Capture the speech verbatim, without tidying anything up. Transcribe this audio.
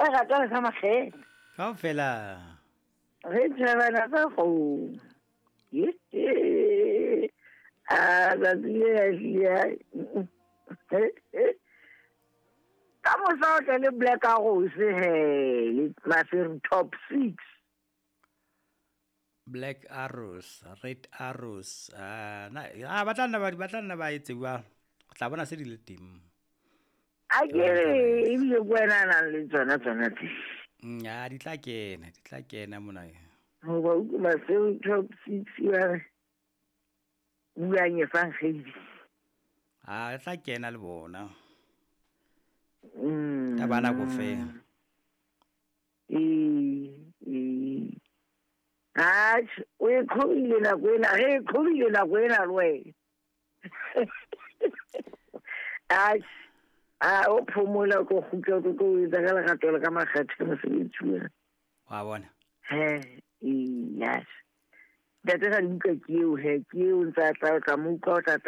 lerato le ka makgethe. Kaofela. Re tjhabana tsa kgomo. A tsatsi le a hlile. Ka mosa o tle le Black Arrows he le Maseru top six. Black Arrows, Red Arrows. Ah, na ah ba tla nna ba ba tla nna ba etse jwalo. Re tla bona se di le teng. A ke re ebile ke wena a nang le tsona tsona tse. Mm, ah, di tla kena, di tla kena mona. Hoba utlwe Maseru top six ba re buang efankgedi. Ah, e tla kena le bona. Mm. Ka ba nako fela. Ee, ee. Atjhe, o e qhobile nako ena, re e qhobile nako ena le wena. Atjhe, a o phomola o tlo kgutla o tlo tlo o etsa ka lerato le ka makgethe mosebetsi ona. Wa bona. He, ee, yes. Ntate Radibuka ke eo he, ke eo ntse a tla o tla mo utlwa o tla tla